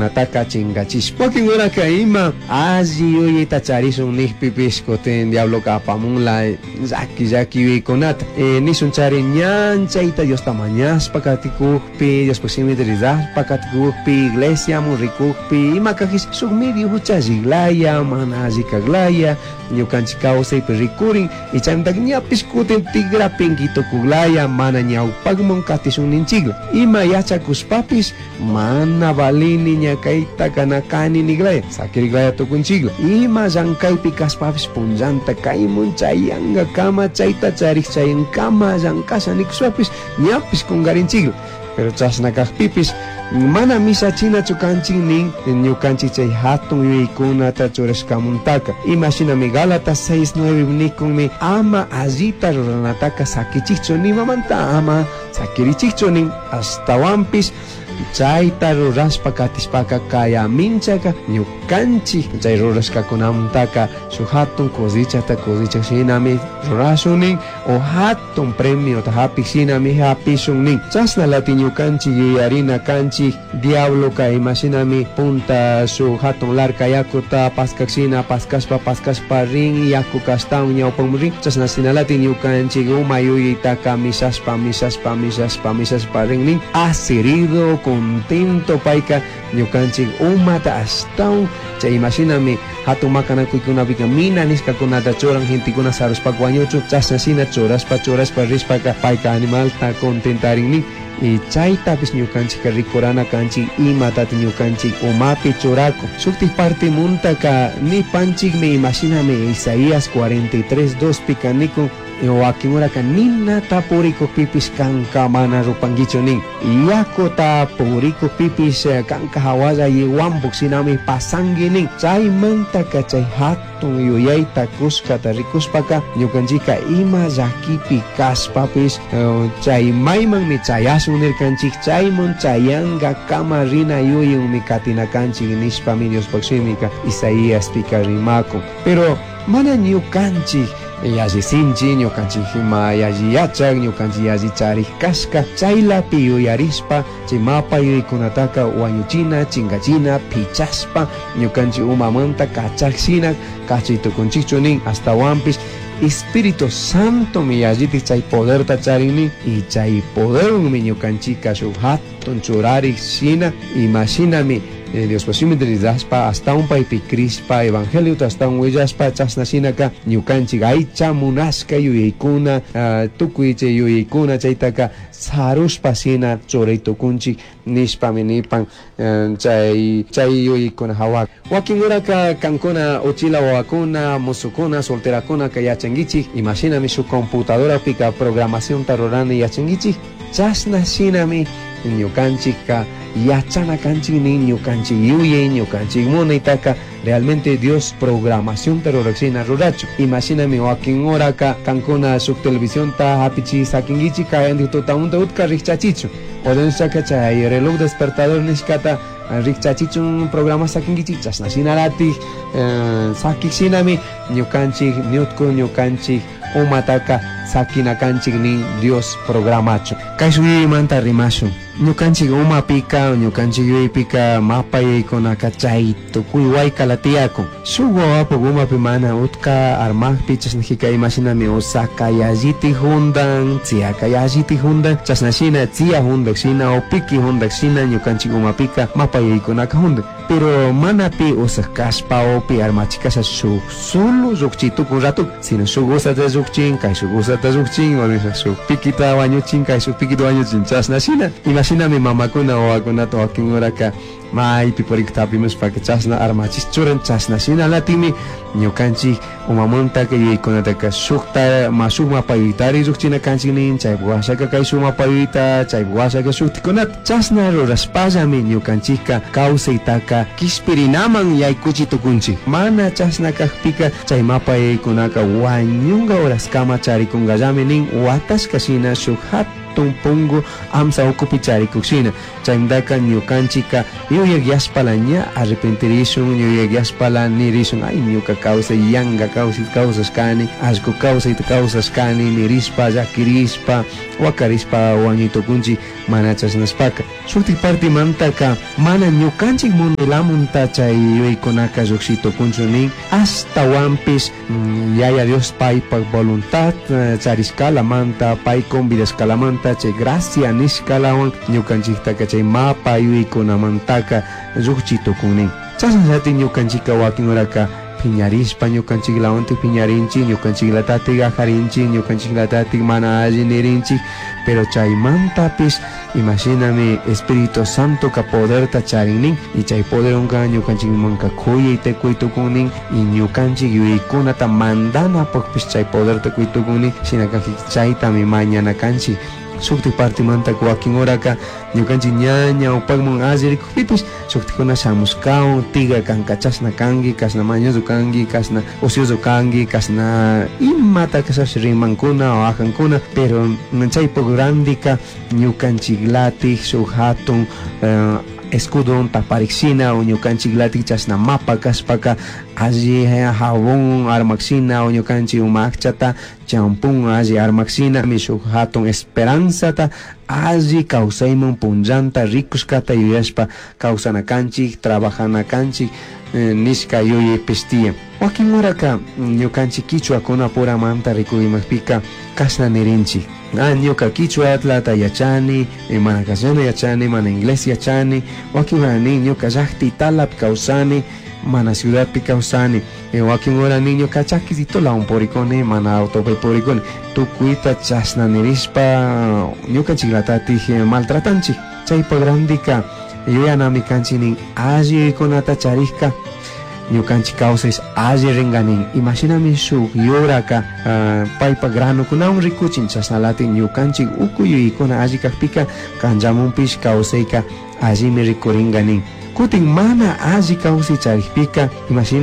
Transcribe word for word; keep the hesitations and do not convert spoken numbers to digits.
Nataka chingachishpa wakinkunaka ima alli yuyayta charishun nijpipish kutin diabloka apamunla llaki llaki yuyaykunata e, nishun chari ñan chayta Diosta mañashpa katikukpi Diospuk shimita rizashpa katikukpi iglesiamun rikukpi ima kajish shuk medio huchalliklaya mana alli kaklaya ñukanchik kawsaypi rikurin y chaymantaqa ñapish kutin tikrapinki tukuklaya mana ñawpakman katishun ninchikla ima yachakushpapish mana valini ña kaytaka na kani niklaya sakiriklaya tukunchikla ima llankaypi kashpapish punllanta kaymun chayankakama chayta charik chayankama llankasha nikushpapish ñapish kunkarinchikla pero chashna kakpipish mana mishachinachu kanchik nin ñukanchik chay hatun yuyaykunata churashkamuntaka imashinami Gálatas seis nueve nikunmi ama allita ruranataka sakichikchu nimamanta ama sakirichikchu nin ashtawanpish chayta rurashpa katishpaka kayaminchaka ñukanchik chay rurashkakunamantaka shuk hatun cosechata cosechak shinami rurashun nin o hatun premiota hapik shinami hapishun nin chashna lati ñukanchik yuyarina kanchik diabloka imashinami punta shuk hatun larka yakuta paskak shina paskashpa paskashpa rin yakuka ashtawan ñawpaman rin chashna shinalati ñukanchik uma yuyaytaka mishashpa mishashpa mishashpa mishashpa rin nin asirido contento payka ñukanchik umata ashtawan chay imashinami hatun makanakuykunapika mina nishkakunata churan gentekuna sarushpaka wañuchun chashna shina churashpa churashpa rishpaka payka animalta contentarin nin y chaytapish ñukanchikka rikurana kanchik imatata ñukanchik umapi churakun shuktik partimuntaka nipanchikmi imashinami Isaías cuarenta y tres dos pika nikun wakinkunaka ninata purikukpipish kanka mana rupankichu nin yakuta purikukpipish kanka hawalla yiwampuk shinami pasanki nin chaymantaka chay hatun yuyayta kushkata rikushpaka ñukanchikka ima llakipi kashpapish chay maymanmi chayashun nirkanchik chayman chayankakama rina yuyunmi katina kanchik nishpami Diospuk shimika Isaíaspika rimakun pero mana ñukanchik yalli sinchi ñukanchik ima yalli yachak ñukanchik yalli charik kashka chaylapi yuyarishpa chay mapa yuyaykunataka wañuchina chinkachina pichashpa ñukanchik umamanta kachakshina kachay tukunchikchu nin ashtawanpish Espíritu Santo mi yallitik chay poderta charin nin y chay poderwanmi ñukanchikka shuk hatun churarik shina imashinami Dios shimita rizashpa ashtawan paypi crishpa evangeliota ashtawan willashpa chashna shinaka ñukanchik aycha munashka yuyaykuna tukuy chay yuyaykuna chaytaka sarushpa shina churay tukunchik nishpami nipan chay chay yuyaykuna hawa wakinkunaka kankuna uchila wawakuna musukuna solterakunaka yachankichik imashinami shuk computadorapika programacionta rurani yachankichik chashna shinami ñukanchikka yachana kanchik nin ñukanchik yuyay ñukanchik munaytaka realmente Dios programacionta rurashina rurachu imashinami wakin horaka kankuna shuk televisionta hapichi sakinkichik kayantik tutamunta utka rikchachichu ordenshaka chay reloj despertador nishkata rikchachichun programa sakinkichik chashna shinalatik sakik shinami ñukanchik ñutku ñukanchik umataka sakina kanchik nin Dios programachu kay shuyaymanta rimashun ñukanchik umapika ñukanchik yuyaypika mapa yuyaykunaka chay tukuy waykala tiyakun shuk wawapuk umapi mana utka armakpi chashnajika imashinami usaka yallitik jundan tziyaka yallitik jundan chashna shina tziya jundak shina o piki jundak shina ñukanchik umapika mapa yuyaykunaka jundan pero mana pi usak kashpa o pi armachikasha shuk solo llukchi tukun rato sino shuk usata llukchin kay shuk usata llukchin o shuk pikita wañuchin kay shuk pikita wañuchin chashna shina imashinami mamakuna wawakunata wakinkunaka maypi purikta hapimushpaka chashna armachish churan chashna shinalatimi ñukanchik umamantaka yuyaykunataka shukta ma shuk mapa yuyaytari llukchina kanchik nin chaypuk washaka kay shuk mapa yuyayta chaypuk washaka shuktikunata chashna rurashpallami ñukanchikka kawsaytaka kishpirinaman yaykuchi tukunchik mana chashna kakpika chay mapa yuyaykunaka wañunka horaskama charikunkallami nin watashka shina shuk hatun pungu amsa ukupi charikuk shina chaymantaka ñukanchikka yuyak yashpala ña arrepentirishun yuyak yashpala nirishun ay ñuka kawsay yanka kawsay kawsashkani allku kawsayta kawsashkani nirishpa llakirishpa wakarishpa wañuy tukunchik mana chashnashpaka Shutik partimantaka mana ñukanchik munaylamunta chay yuyaykunaka llukshi tukunchu nin ashtawanpish mm, yaya Dios paypak voluntad eh, charishkalamanta pay convidashkalamanta chay gracia nishkalawan ñukanchiktaka chay mapa yuyaykunamantaka llukchi tukun nin chashnallatik ñukanchikka wakin horaka piñarishpa ñukanchiklawantik piñarinchik ñukanchiklatatik ajarinchik ñukanchiklatatik mana alli nirinchik pero chaymantapish imashinami Espíritu Santo ka poderta charin nin y chay poderwanka ñukanchikmanka kuyayta kuy tukun nin y ñukanchik yuyaykunata mandanapakpish chay poderta kuy tukun nin shinaka chaytami mañana kanchik shuktik partimanta wakin horaka ñukanchik ña ñawpakman alli rikukpipish shuktikuna shamushkawan tiga kanka chashna kanki kashna mañoso kanki kashna ocioso kanki kashna imata kashash rimankuna o ajankuna pero chaypuk randika ñukanchiklatik shuk hatun eh, escudo taparikshina o ñukanchiklatik chashna mapa kashpaka alli jabón armakshina o ñukanchik uma akchata champún alli armakshina shuk hatun esperanzata alli kawsayman punllanta rikushkata yuyashpa kawsana kanchik trabajana kanchik eh, nishka yuyaypish tiyan wakin horaka ñukanchik kichwakunapuramanta rikurimapika kashna nirinchik ah ñuka kichwatlata yachani eh, mana castellano yachani mana inglés yachani wakin hora nin ñuka llaqtitalapi kawsani mana ciudadpi kawsani eh, wakin hora nin ñuka chakisitolawan purikuni mana autopi purikuni tukuyta chashna nirishpa ñukanchiklatatik eh, maltratanchik chaypak randika yuyanami kanchik nin alli yuyaykunata charikka ñukanchik kawsaysh alli rinka nin imashinami shuk yuraka uh, paypak granukunawan rikuchin chashnalatik ñukanchik uku yuyaykuna alli kakpika kanllamunpish kawsayka allimi rikurinka nin kutin mana alli kawsay charikpika imashina